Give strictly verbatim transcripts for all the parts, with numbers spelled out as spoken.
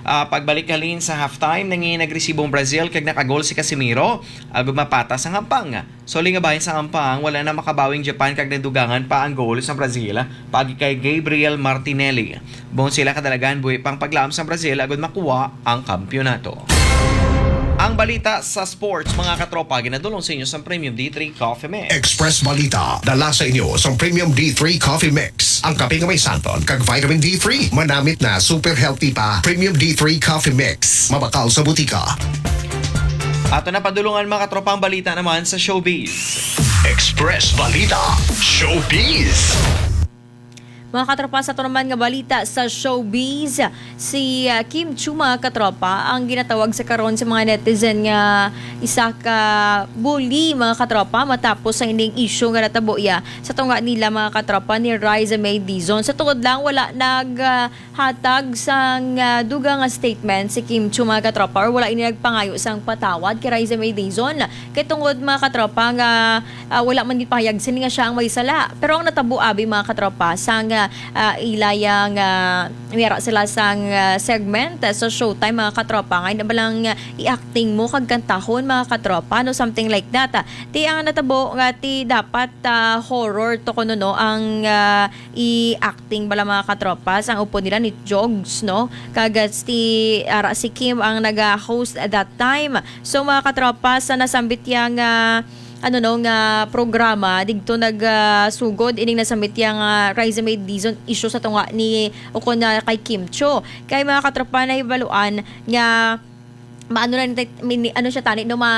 Ah, pagbalik halin sa halftime, nangi nagresibo ang Brazil kag nakagol si Casemiro agud mapatas ang hampang. Sa uli nga bahin sang hampang, wala na makabawing Japan kag nadugangan pa ang goal sang Brazil paagi kay Gabriel Martinelli. Buon sila kadalagan buhi pang paglaom sang Brazil agud makuha ang kampiyonato. Ang balita sa sports, mga katropa, ginadulong sa inyo sang Premium D three Coffee Mix. Express Balita, dala sa inyo sang Premium D three Coffee Mix. Ang kape nga may santon kag vitamin D three, manamit na super healthy pa. Premium D three Coffee Mix, mabakal sa butika. Ato na padulungan, mga katropa, ang balita naman sa showbiz. Express Balita, Showbiz. Mga katropa, sa ato naman nga balita sa showbiz, si, ah, Kim Chiu, mga katropa, ang ginatawag sa karon sa mga netizen nga isa ka bully, mga katropa, matapos sa ining issue nga natabo iya sa tunga nila, mga katropa, ni Riza May Dizon. Sa tungod lang, wala nag, ah, hatag sang, ah, dugang nga statement si Kim Chiu, mga katropa, or wala ini nagpangayo sang patawad kay Riza May Dizon. Kay tungod, mga katropa, nga, ah, wala man gipahayag sini nga siya ang may sala. Pero ang natabo abi, mga katropa, sang, ah, ah, ila yang, ah, may ara sila sang, ah, segment, ah, sa Showtime, mga katropa, nga ina ba lang, ah, i-acting mo kag kantahon, mga katropa, no, something like that. Ah, ti ang natabo nga ti dapat, ah, horror to kuno, no, ang, ah, i-acting bala, mga katropa, sang upod nila ni Jogs, no, kag, ah, ti ara si Kim ang naga-host at that time. So, mga katropa, sa nasambit yang, ah, ano, no, nga programa, digto nag, ah, sugod ining nasambit yang, ah, Riza May Dizon issue sa tunga ni ukon na kay Kim Chiu. Kay, mga katropa, nahibaluan nga maano na ni, mini-, ano siya tani, no, ma,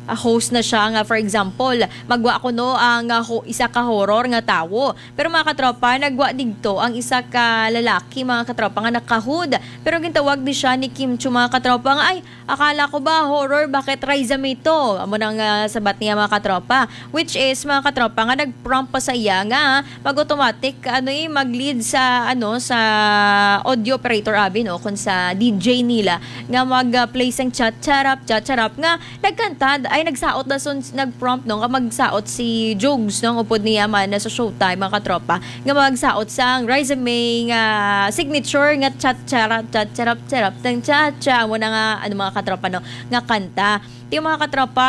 ah, host na siya nga, for example, magwa kuno ang, ah, ho-, isa ka horror nga tawo. Pero, mga katropa, nagwa digto ang isa ka lalaki, mga katropa, nga naka-hood. Pero gintawag ni siya ni Kim Chiu, mga katropa, nga, "Ay, akala ko ba horror, bakit Riza May to?" Amo nang, ah, sabat niya, mga katropa. Which is, mga katropa, nga nag-prompt pa sa iya nga mag-automatic, ano, eh, mag-lead sa, ano, sa audio operator abi, no, kun sa D J nila nga mag, ah, play sang Cha Charap, Cha Charap nga nagkanta, ay, nagsaot na sun-, nag-prompt, no, nga magsaot si Jugs, no, ang upod niya man na sa Showtime, mga katropa, nga magsaot sang Riza May nga signature nga Cha Charap, Cha Charap, Charap, tang Cha Cha. Amo na nga, ano, mga katropa, no, nga kanta. Ti, mga katropa,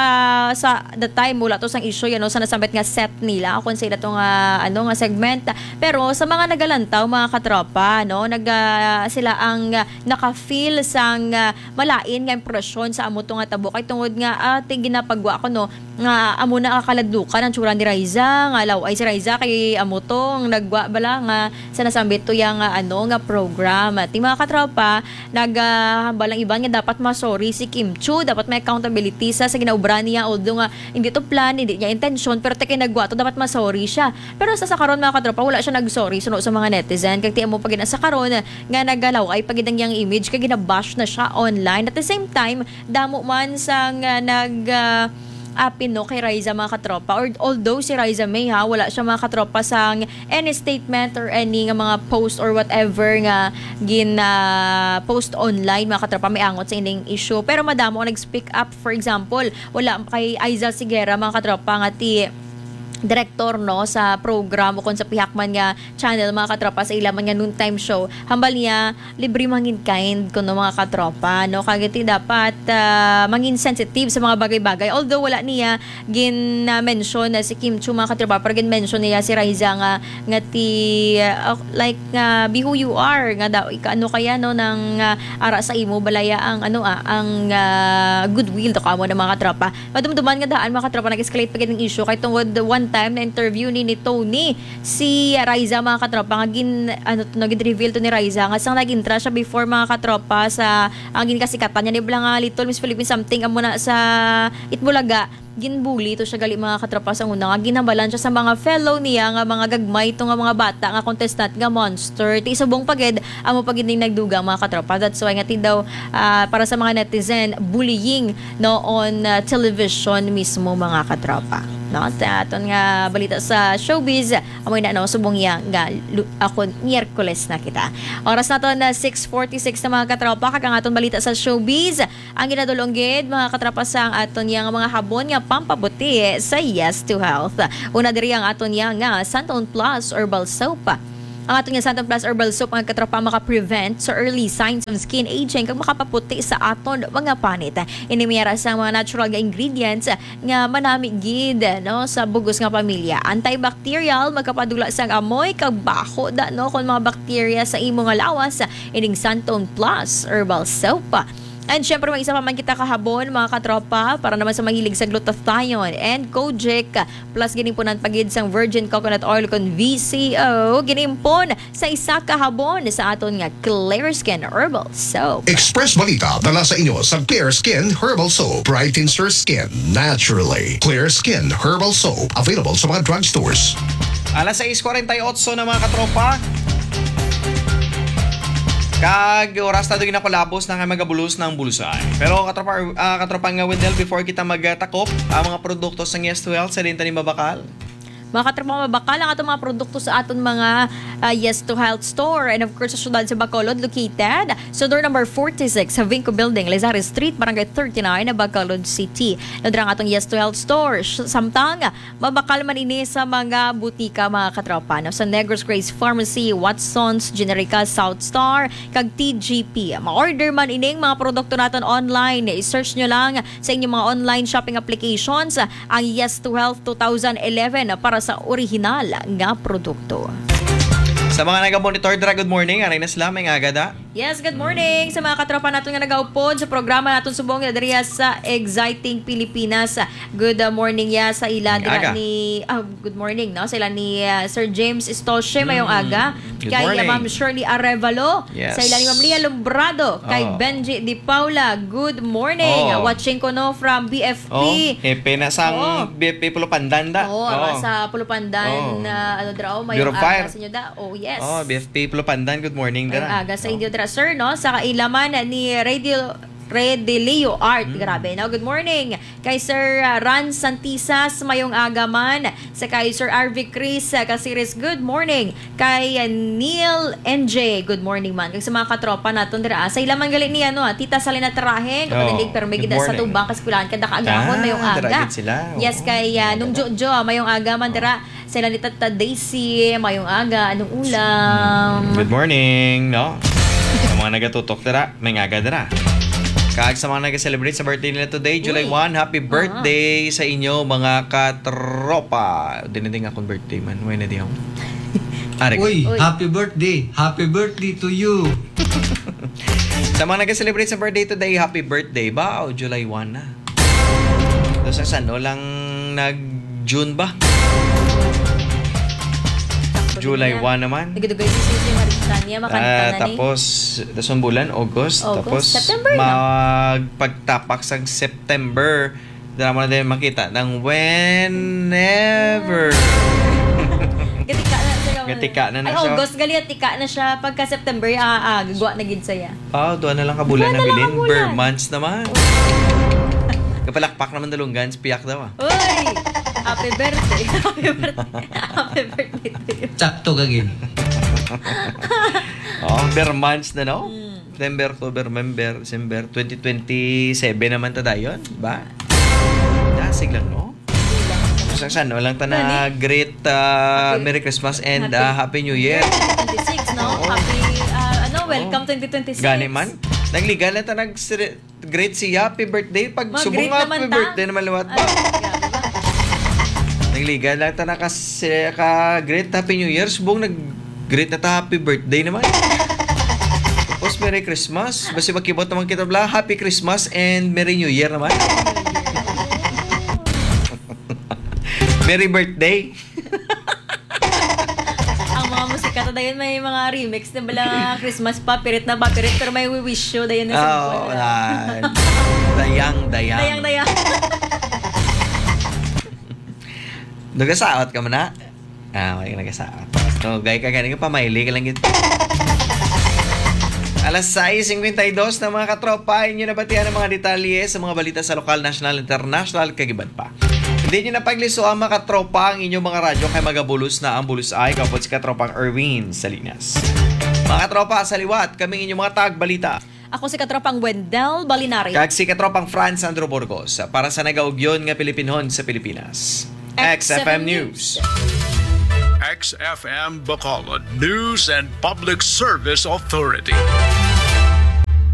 sa the time, wala to sang issue, yan, no, sa nasambit nga set nila, o kung sa ila to nga, ano, nga segment. Pero sa mga nagalantaw, mga katropa, no, nag, ah, sila ang, ah, naka-feel sang, ah, malain nga impresyon sa amo to nga tabo. Kay tungod nga, ah, ti ginapagwa ko, no, nga amo na kakaladlukan ang tsura ni Riza, nga law-ay si Riza kay amo to ang nagwa bala nga sa nasambit to yang, ah, ano, nga program. Ti, mga katropa, nagahambal ang iban nga dapat ma-sorry si Kim Chiu, dapat may accountability sa, sa ginaobra niya, although nga hindi to plan, hindi niya intensyon, pero ti kay nagwa to, dapat ma-sorry siya. Pero sa, sa karon, mga katropa, wala siya nag-sorry suno sa mga netizen, kag ti amo pa gid na sa karon nga nagalaw-ay pa gid ang iyang image, kag ginabash na siya online. At the same time, damo man sang, ah, nag, ah, apin, no, kay Riza, mga katropa. Or, although si Riza May, ha, wala siya, mga katropa, sang any statement or any nga mga post or whatever nga gin, ah, post online, mga katropa, may angot sa ining issue. Pero madamo ang nag-speak up. For example, wala kay Aiza Sigera, mga katropa, nga ti direktor, no, sa program o kung sa pihak man nga channel, mga katropa, sa ila man nga noontime show. Hambal niya, libre mangin kind kuno, mga katropa, no? Kag ti dapat, ah, mangin sensitive sa mga bagay-bagay. Although wala niya gin, ah, mention na si Kim Chiu, mga katropa, pero gin-mention niya si Riza nga, nga ti, ah, like, nga, "Be who you are," nga daw, ika-, ano kaya, no, nang, ah, ara sa imo, balaya ang, ano, ah, ang, ah, goodwill to kamo na, mga katropa. Madumduman nga daan, mga katropa, nag-escalate pa gid ang issue kay tungod one time na interview ni, ni Tony si Riza, mga katropa, nga gin, ano to, no, gin-reveal to ni Riza nga sang nag-intra siya before, mga katropa, sa ang ginkasikatan niya ni bala nga Little Miss Philippines something amo na sa Itbulaga, ginbully to siya gali, mga katropa, sa una nga ginhambalan siya sa mga fellow niya nga mga gagmay to nga mga bata nga contestant nga monster. Ti subong pa gid, amo pa gid ning nagdugang, mga katropa. That's why nga ti daw, ah, para sa mga netizen, bullying, no, on, ah, television mismo, mga katropa. No? Sa aton nga balita sa showbiz, amoy na, no, subong iya nga lu-, ako, Miyerkules na kita. Oras nato na six forty-six na, mga katropa, kag ang aton balita sa showbiz, ang ginadulong gid, mga katropa, sa ang aton yang mga habon nga pampabuti sa Yes to Health. Una diri ang aton yang nga Santon Plus Herbal Soap. Ang aton nga Santon Plus Herbal Soap, mga katropa, maka-prevent sa early signs of skin aging kag makapaputi sa aton mga panit. Ini may ara sa mga natural nga ingredients nga manami gid, no, sa bug-os nga pamilya. Antibacterial, makapadula sang amoy kag baho da, no, kon mga bakterya sa imo nga lawas, ining Santon Plus Herbal Soap. And syempre, may isa pa man kita kahabon, mga katropa, para naman sa mahilig sa glutathione and kojic. Plus, ginimpunan pa gid sang virgin coconut oil kon V C O. Ginimpon sa isa ka habon sa aton nga Clear Skin Herbal Soap. Express Balita dala sa inyo sa Clear Skin Herbal Soap. Brightens your skin naturally. Clear Skin Herbal Soap. Available sa mga drugstores. Alas sais kuwarenta y otso na, mga katropa. Kag oras na doon na kulabos na nga magabulos ng bulusay. Pero katropa, ah, katropa nga Wendell, before kita magtakop, ang mga produkto sa Yes to Health, sa din tani mabakal? Mga katropa, mabakal ang atong mga produkto sa aton mga, ah, Yes to Health Store. And of course, sa siyudad sa Bacolod, located sa door number forty-six sa Vinco Building, Lizares Street, Barangay thirty-nine, Bacolod City. Nadra ang atong Yes to Health Store. S- Samtang, mabakal man ini sa mga butika, mga katropa, no? Sa Negros Grace Pharmacy, Watson's, Generica, South Star, kag T G P. Ma-order man ining mga produkto naton online. I-search nyo lang sa inyong mga online shopping applications ang Yes to Health two thousand eleven para sa original nga produkto. Sa mga naga-monitor dira, good morning. Aray na sila, may nga agada. Yes, good morning sa mga katropa naton nga nagaupod sa programa naton subong nga diriya sa Exciting Pilipinas. Good, uh, morning ya sa ila May dira aga. ni, ah, good morning, no? Sa ila ni, uh, Sir James Estoche, mayong Mm. aga. Good Kay, uh, morning. Ma'am Shirley Arevalo, Yes. sa ila ni Ma'am Lia Lombrado, kay Oh. Benji Di Paula, good morning. Oh. Uh, watching ko, no, from B F P. Oh, hepe na sang Oo. B F P Pulupandan da. Oo, Oh. sa Pulupandan, Oh. na, ano, dra, oh, Bureau mayong of Fire. aga sa inyo da. Oh, yes. Oh, B F P Pulupandan, good morning, Mayong dra. aga sa Oh. inyo dra, sir, no? Sa kailaman ni Radio Redelio Art. Mm. Grabe, no? Good morning kay Sir, uh, Ran Santisas, mayong aga man. Sa kay Sir R V Chris, uh, Casiris, good morning. Kay, uh, Neil N J, good morning man. Kag sa mga katropa naton dira, ah, sa ilaman gali ni, ano, ah, Tita Salina Tarahe, Oh, kapatilig, pero may good gida sa morning. Tubang, Kaskulaan, kada kaagahon, Ah, mayong dira aga. gid sila. Yes, Oo, kay, ah, Nung maganda. Jojo, ah, mayong aga man Oh. dira. Sa ila ni Tata Daisy, mayong aga, anong ulam? Good morning, no? Sa mga nagatutok dira, may nga aga dira. Kag sa mga nag-celebrate sa birthday nila today, July Uy. one, happy Ah. birthday sa inyo, mga katropa. Di na din akong birthday man. Wala na di ako. Ari. Uy, Uy. happy birthday. Happy birthday to you. Sa mga nag-celebrate sa birthday today, happy birthday ba? O July one na? Tapos sa sano lang nag-June ba? Sakto July din na. one naman. Nagdugay si Susie Maritania, makanta Ah, na ni. tapos, tapos ang bulan, August. August, Tapos, September na. magpagtapak sa September. Dala mo na din makita ng whenever. Gatika na siya. Gatika na na Ay, siya. August, gali, tika na siya. Pagka September, ah, ah, gagwa na gid saya. Ah, duha na lang ka bulan Duha na na lang bilin. ka bulan. Bare months naman. Oh. Kapalakpak naman dalunggan, piyak daw, ah. Uy! Happy birthday. Happy birthday. Happy birthday to you. Sakto ka, Gil. Oh, bare months na, no? Mm. September, October, November, December, twenty twenty-seven naman ta dayon, ba? Dasig lang, no? Sa san, walang ta na Gani. great, ah, Happy Merry Christmas and, Happy ah, Happy New Year. Year twenty twenty-six, no? Oo. Happy, ah, ano, Oo. welcome twenty twenty-six. Gani man. Nagliga lang ta nag-great siya, happy birthday. Pag Mag-greet subong nga, naman happy ta. birthday naman liwat ba? Ay, grabe ba? Nagliga lang ta na kasi ka-great Happy New Year. Subong nag-greet na ta, happy birthday naman. Tapos Merry Christmas. Basi magkibot naman kita bla, Happy Christmas and Merry New Year naman. Merry birthday. Ang mga musika ta dayon may mga remix na bala, Christmas pa, pirit na pa, pirit, pero may wish you dayon na Ah, sa wala. Dayang, dayang. Dayang, dayang. Nagasaot ka man na? Ah, may nagasaot. No, gay ka gani ka, pamaili ka lang gid. Alas sais cincuenta y dos na, mga katropa, inyo nabatian ang mga detalye sa mga balita sa lokal, national, international, kag iban pa. Hindi nyo na pagliso ang, mga katropa, ang inyong mga radyo kay magabulos na ang bulos ay kapot si katropang Erwin Salinas. Mga katropa, sa liwat, kami inyong mga tagbalita. Ako si katropang Wendell Balinares. Kag si katropang Franz Andrew Burgos para sa nagaugyon nga Pilipinhon sa Pilipinas. X F M News. X F M Bacolod News and Public Service Authority.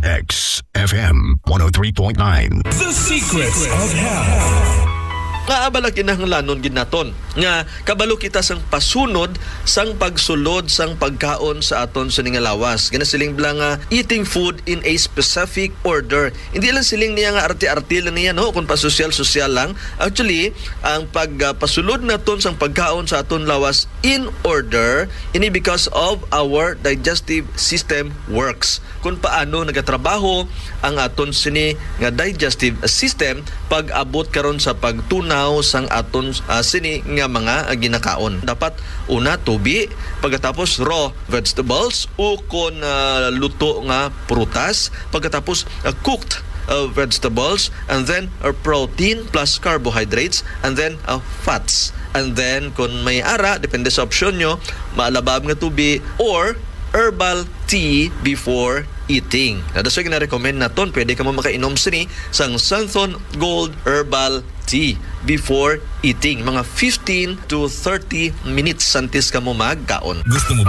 X F M one oh three point nine. The Secrets of Health. Nga abala kinahanglanon gid naton nga kabalo kita sang pasunod sang pagsulod sang pagkaon sa aton sini nga lawas. Ginasiling bala nga eating food in a specific order. Hindi lang siling niya nga arte-arte lang niya, no, kung pasosyal-sosyal lang. Actually, ang pagpasulod naton sang pagkaon sa aton lawas in order, ini because of our digestive system works, kung paano nagatrabaho ang aton sini nga digestive system pag-abot karon sa pagtunaw sang aton, ah, sini nga mga, ah, ginakaon. Dapat una tubi, pagkatapos raw vegetables, o kon, ah, luto nga prutas, pagkatapos, ah, cooked, ah, vegetables, and then, ah, protein plus carbohydrates, and then, ah, fats. And then, kung may ara, depende sa opsyon nyo, maalabab nga tubi or herbal tea before eating. Na daso gina-recommend naton, pwede ka mo makainom sini sang Santhon Gold Herbal Tea before eating, mga fifteen to thirty minutes antes ka mo magkaon. Gusto mo